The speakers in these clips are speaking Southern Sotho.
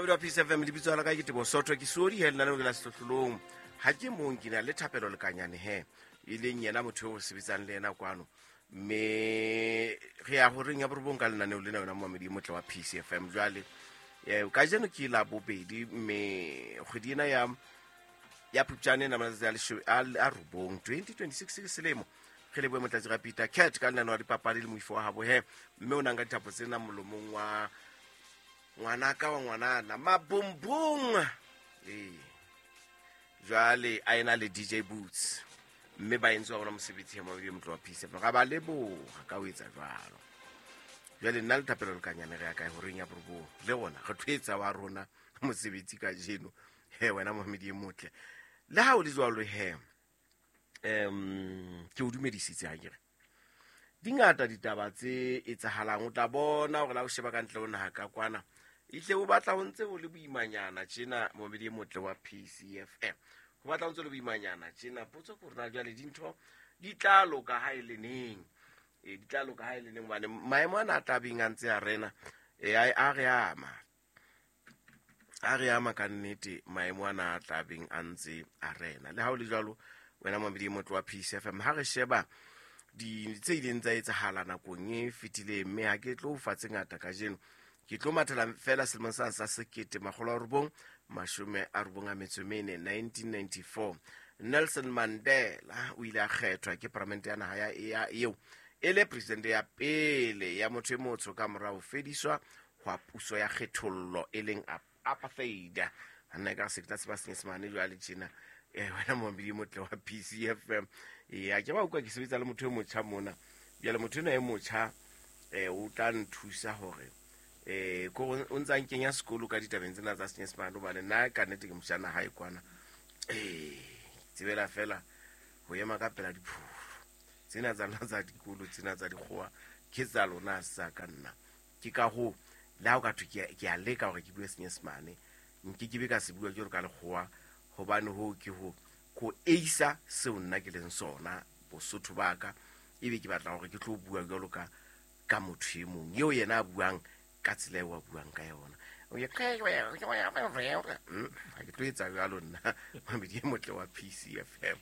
Mabedi wa Peace FM, lebitso la ka ke Tebo Sotho, ke suodi he lenaneo ke la Sehlohlolong. Ha ke mong, ke na le Thapelo Lekanyane he, e leng yena motho eo re sebetsang le yena kwano. Mme re ya horeng ya borobong ka lenaneo lena, yona momamedi e motle wa Peace FM. Jwale kajeno ke la bobedi, mme kgwedi ena ya Phupjane ena matsatsi a 9 2026 ke selemo. Re lebohe Motlatsi ra Peter Cat ka lenaneo la dipapadi le moifo wa habo he, mme o nang ka dithapo tsena molomong wa ngwanaka wa ngwanana Mabumbung. Ee, jwale a ena le DJ Boots, mme ba entse wa bona mosebetsi ya mabedi motlo wa Peace FM. Ga ba leboga ka ho etsa jwalo. Jwale nna le Thapelo Lekanyane re ya kae horeng ya borobong, le rona re tlo etsa wa rona mosebetsi kajeno he, wena mohamedi e motle. Le ha o le jwalo he, ke o dumedisitse ha kere di ngata ditaba tse etsahalang. O tla bona hore la o sheba ka ntle ho naha ka kwana, ehle o batla ho ntse ho le boimanyana tjena, momedi e motle wa PCFM, ho batla ho ntse ho le boimanyana tjena. Potso ke hore na jwale dintho di tla loka ha e le neng? E di tla loka ha e le neng? Hobane maemo ana a tlabeng a ntse a rena, e a re ama, a re ama ka nnete, maemo ana a tlabeng a ntse a rena. Le ha o le jwalo, wena momedi e motle wa Peace FM, ha re sheba di tse ileng tsa etsahala nakong e fetileng, mme ha ke tlo fa tse ngata kajeno, ke tlo mathela fela selemong sa 1994, 1994, Nelson Mandela o ile a kgethwa ke paramente ya naha ya eo e le presidente ya pele ya motho e motsho ka mora ho fediswa hwa puso ya kgethollo, e leng apartheid. Nna ka se ke tla tseba Senyesemane jwale tjena. Wena momedi motle wa PCFM, ee, a ke ba utlwa ke sebetsa le motho e motjha mona. Jwale motho ena e motjha o tla nthusa hore ko o ntsa nkenya sekolo ka ditabeng tsena tsa Senyesemane, hobane nna ka nnete ke motjha naha e kwana. Tsebela fela ho ema ka pela diphofu tsena tsa lona tsa dikolo, tsena tsa dikgowa ke tsa lona, sa ka nna. Ke ka hoo le ha o ka thwe ke a leka hore ke bue Senyesemane, nke ke be ka se bua jwalo ka lekgowa, hobane hoo ke ho ko eisa seo nna ke leng sona, bosotho ba ka, ebe ke batla hore ke tlo bua jwalo ka motho e mong eo yena a buang ka tsela eo a buang ka yona. Ha ke tlo etsa jwalo nna, mamedi e motle wa PCFM.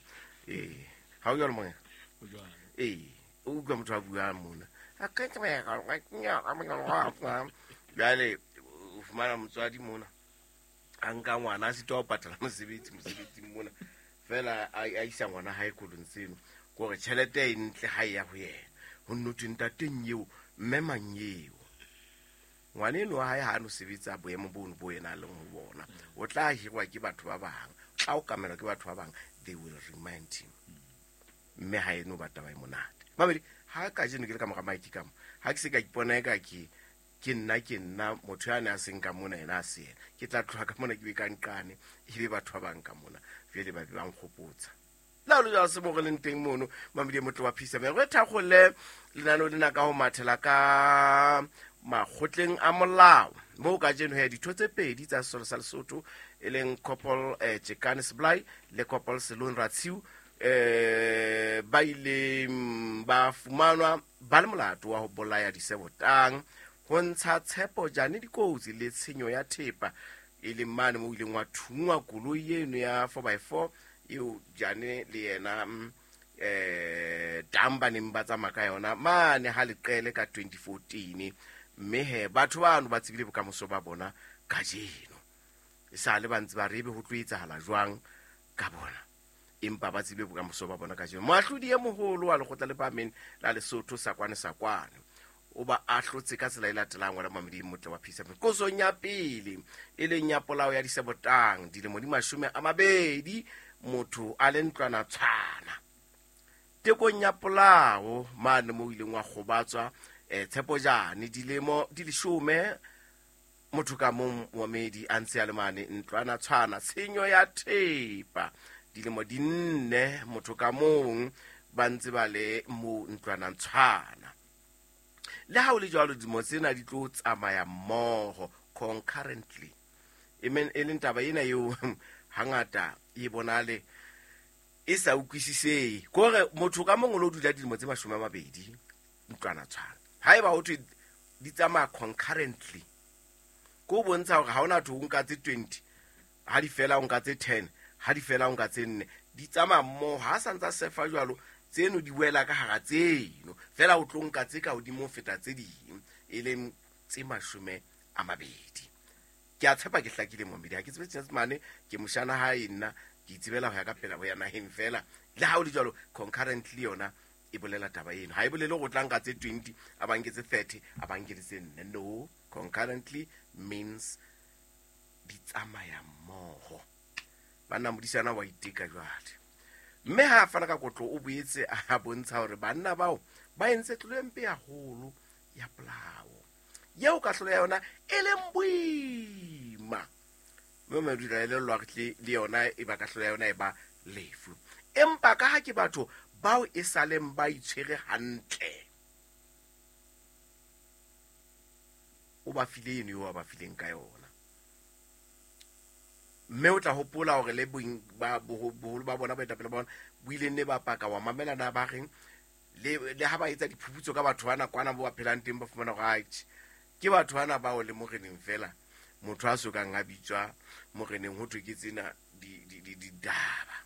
Ee, ha o jwalo moya? Ee, o utlwa motho a buang mona jwale, o fumana motswadi mona a nka ngwana a sitwa ho patala mosebetsi mosebetsing mona fela, a isa ngwana hae kolong tseno, kore tjhelete e ntle ha e ya ho yena. Ho nno thwe ntateng eo, mme mang eo, ngwana eno wa hae ha a no sebetsa boemo bono bo yena a leng ho bona, o tla hirwa ke batho ba bang, o tla okamelwa ke batho ba bang. They will remind him, mme ha eno ba taba e monate. Mamedi, ha kajeno ke le ka mora mike ka mo, ha ke se ka ipona eka ke nna motho ya ne a seng ka mona, yena a se yena, ke tla tloha ka mona ke be ka nqane, ebe batho ba bang ka mona jwale ba be ba nkgopotsa. Le ha o le jwalo, se mo re leng teng mono, mamedi e motle wa Peace, re thakgole lenaneo lena ka ho mathela ka makgotleng a molao, moo kajeno he ditho tse pedi tsa sesole sa Lesotho, e leng Corporal Tjekane Sebolai le Corporal Selon Ratshiu, ba ile ba fumanwa ba le molato wa ho bolaya Disebotang, ho ntsha Tshepo Jane dikotsi le tshenyo ya thepa, e leng mane mo ileng wa thungwa koloi eno ya 4x4 eo Jane le yena tang ba neng ba tsamaya ka yona mane ha Leqele ka 2014. Mme he batho bano ba tsebile bokamoso ba bona kajeno. E sa le ba ntse ba re ebe ho tlo etsahala jwang ka bona, empa ba tsebile bokamoso ba bona kajeno. Moahlodi e moholo wa Lekgotla le Phahameng la Lesotho, Sakwane Sakwane, o ba ahlotse ka tsela e latelang, wena mamedi motle wa Peace. Qosong ya pele, e leng ya polao ya Disebotang, dilemo di 20 motho a le ntlwana tshwana. Tekong ya polao mane mo ileng wa kgobatswa Tshepo Jane, dilemo di 10 motho ka mong, momedi a ntse a le mane ntlwana tshwana. Tshenyo ya thepa, dilemo di 4 motho ka mong, ba ntse ba le mo ntlwanang tshwana. Le ha o le jwalo, dilemo tsena di tlo tsamaya mmoho, concurrently, e leng taba ena eo hangata e bonale e sa utlwisisehe, kore motho ka mong o lo dula dilemo tse 20 ntlwana tshwana. Ha eba ho thwe di tsamaya concurrently, Ke ho bontsha hore ha hona thwe o nka tse 20, ha di fela o nka tse 10, ha di fela o nka tse 4. Di tsamaya mmoho. Ha a sa ntsa sefa jwalo, tseno di wela ka hara tseno. Feela o tlo nka tse ka hodimo ho feta tse ding, e leng tse 20. Ke a tshepa ke hlakile momedi. Ha ke tsebe Senyesemane, ke moshana hae nna, ke itsebela ho ya ka pela ho ya naheng feela. Le ha ho le jwalo, concurrently yona e bolela taba eno. Ha e bolele hore o tla nka tse 20, a ba nke tse 30, a ba nke le tse 4. No, concurrently means di tsamaya mmoho. Banna modisana wa iteka jwale. Mme ha a fana ka kotlo o boetse a bontsha hore banna bao ba entse tlolo e mpe haholo ya polao, yeo kahlolo ya yona e leng boima. Mme madula e lellwa re tle le yona e ba kahlolo ya yona e ba lefu. Empa ka ha ke batho bao e saleng ba itshwere hantle, o ba file eno eo a ba fileng ka yona. Mme o tla hopola hore le boholo ba bona, baetapele ba bona, bo ile nne ba paka wa mamela na ba reng, le ha ba etsa diphuputso ka batho bana kwana bo ba phelang teng, ba fumana hore atjhe, ke batho bana bao le moreneng fela, motho a sokang a bitswa moreneng ho thwe ke tsena ditaba.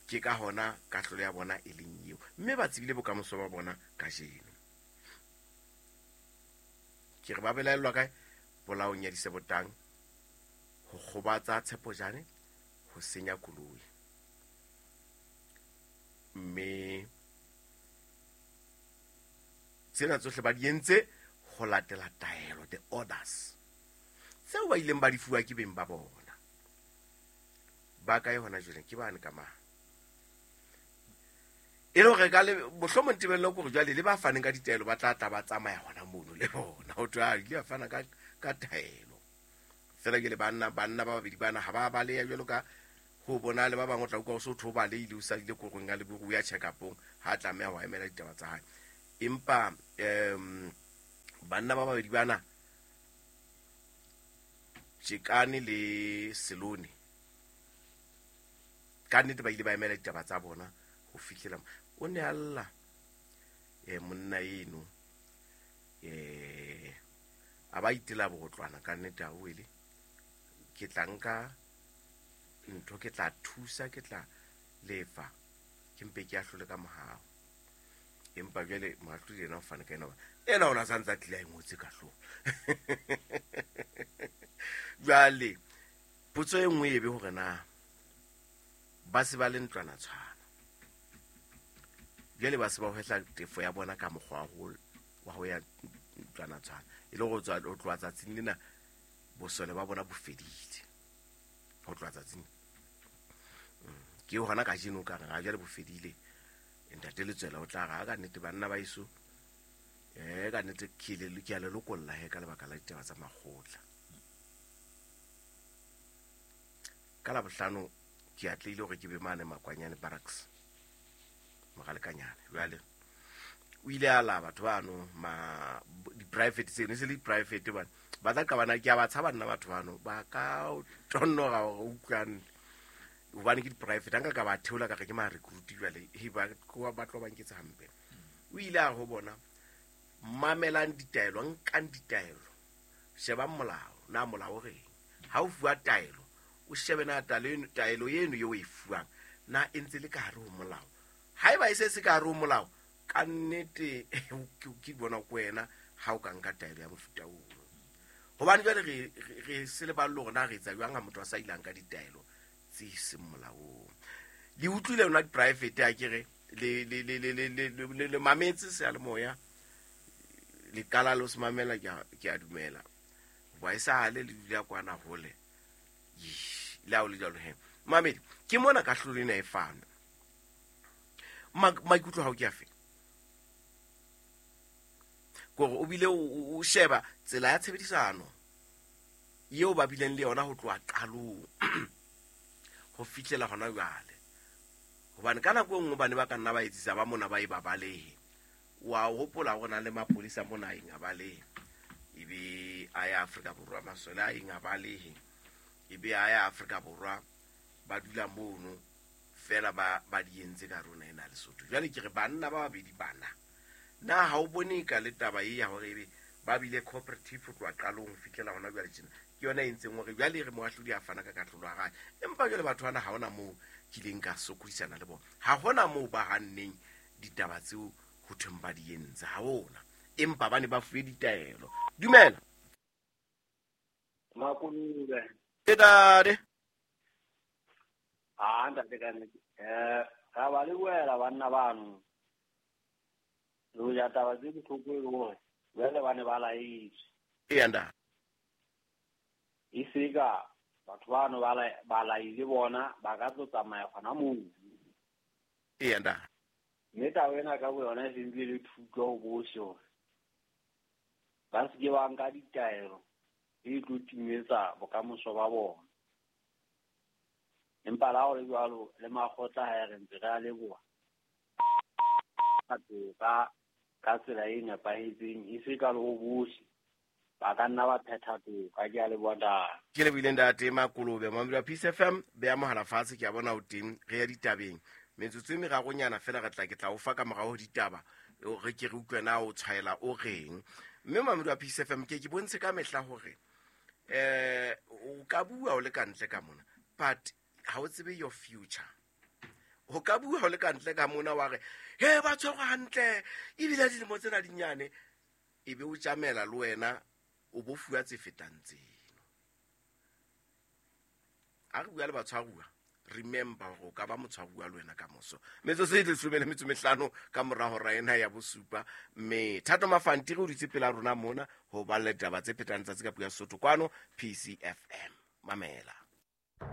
Ke ka hona kahlolo ya bona e leng eo, mme ba tsebile bokamoso ba bona kajeno. Ke re ba belaellwa kae? Polaong ya Disebotang, ho kgobatsa Tshepojane, ho senya koloi. Mme tsena tsohle ba di entse ho latela taelo, the orders tseo ba ileng ba di fuwa ke beng ba bona. Ba kae hona jwale? Ke bane ka mang? E le hore ka le mohlomong tebello ke hore jwale le ba faneng ka ditaelo ba tla tla ba tsamaya hona mono le bona. Ho thwe, a ile a fana ka taelo. Feela ke le banna ba babedi bana ha ba baleha jwalo ka ho bona le ba bang o tla utlwa o so thwe o balehile, o sadile korong ya leburu, o ya check-upong, ha a tlameha ho emela ditaba tsa hae. Empa banna ba babedi bana, Tjekane le Selone, ka nnete ba ile ba emela ditaba tsa bona ho fihlela o ne a lla, monna eno, a ba itela botlwana ka nnete, a wele ke tla nka ntho, ke tla thusa, ke tla lefa, ke mpe ke ahlole ka mohau. Empa jwale moahlodi yena o fane ka ena, ena o na sa ntse a tlile a e ngotse ka hlooho. Jwale potso e nngwe e be hore na ba se ba le ntlwana tshwana, jwale ba se ba hwehla tefo ya bona ka mokgwa wa ho ya ntlwana tshwana, e le ho tswa, ho tloha tsatsing lena bosole ba bona bo fedile. Ho tloha tsatsing ke hona kajeno ka re ha jwale bo fedile. Ntate Letswela o tla re, ha ka nnete banna ba eso, ka nnete ke le, ke a le lokolla he ka lebaka la ditaba tsa makgotla. Ka Labohlano ke atlehile hore ke be mane Makwanyane Barracks, Mogalekanyane. Jwale o ile a la batho bano, ma di-private tseno, e se le di-private bana. Ba tla qabana, ke a ba tshaba nna batho bano, ba ka tonnoga hore o utlwane. Hobane ke di-private, ha nka ka ba theola ka re ke ma-recruit jwale, he, ba tloha ba tlo ba nketsa hampe. O ile a ho bona, mamelang ditaelo, nkang ditaelo, shebang molao, na molao o reng. Ha o fuwa taelo, o shebe na taelo eno eo o e fuwang, na e ntse le ka hare ho molao. Haeba e se se ka hare ho molao, ka nnete, ke bona ko wena ha o ka nka taelo ya mofuta oo. Hobane jwale re se leballe hore na re etsa jwang ha motho a sa ilang ka ditaelo tse seng molaong. Le utlwile yona di-private, ha ke re, le mametse seyalemoya, le qala le ho se mamela, ke a dumela. Hoba e sale le dula kwana hole. Eish, le ha o le jwalo he. Mamedi, ke mona kahlolo ena e fanwe. Maikutlo a hao ke afe? Kore o bile o sheba tsela ya tshebedisano eo ba bileng le yona ho tloha qalong ho fihlela hona jwale. Hobane ka nako e nngwe ba ne ba ka nna ba etsisa ba mona ba e ba balehe. Wa hopola hore na le mapolesa mona a eng a balehe, ebe a ya Afrika Borwa, masole a eng a balehe, ebe a ya Afrika Borwa, ba dula mono fela ba di entse ka rona ena Lesotho. Jwale ke re banna ba babedi bana, na ha o bone ka le taba e ya hore ebe Ba bile cooperative ho tloha qalong ho fihlela hona jwale tjena. Ke yona e entseng hore jwale re moahlodi a fana ka kahlolo ya hae. Empa jwale batho bana ha hona moo kileng ka sokodisana le bona. Ha hona moo ba hanneng ditaba tseo ho thweng ba di entse. Ha hona. Empa ba ne ba fuwe ditaelo. Dumela. Makulube. Ntate. Ah, ntate ka nnete. Ra ba lebohela banna bano. Le hoja taba tse bohloko e le hore jwale ba ne ba laetswe. Eya ntate. E se ka batho bano ba laile bona ba ka tlo tsamaya gona moo. Eya ntate. Mme taba ena ka boyona e sentse e le thuto ho bohle hore ba se ke ba nka ditaelo tse tlo timetsa bokamoso ba bona. Empa la ho le jwalo le makgotla ha re ntse re a leboha toka ka tsela e nepahetseng, e se ka le ho bohle ba ka nna ba phetha toka. Ke a leboha ntate. Ke lebohile ntate Makolobe. Mamedi wa Peace FM, beha mohala fatshe, ke a bona o teng, re ya ditabeng. Metsotso e meraronyana fela re tla ke tla o fa ka morao ho ditaba, re ke re utlwe na o tshwaela o reng. Mme mamedi wa Peace FM, ke ke bontshe ka mehla hore o ka bua o le ka ntle ka mona, but ha o tsebe your future. O ka bua o le ka ntle ka mona wa re, he, ba tshwerwe hantle, ebile dilemo tsena di nyane, e be o tjamela le wena o bo fuwa tse fetang tseno. Ha re bua le batshwaruwa, remember hore o ka ba motshwaruwa le wena ka moso. Metsotso e 15 ka mora hora ena ya bosupa. Mme Thato Mafantiri o dutse pela rona mona ho ba le taba tse phetang tsatsi ka puo ya Sesotho kwano PCFM. Mamela.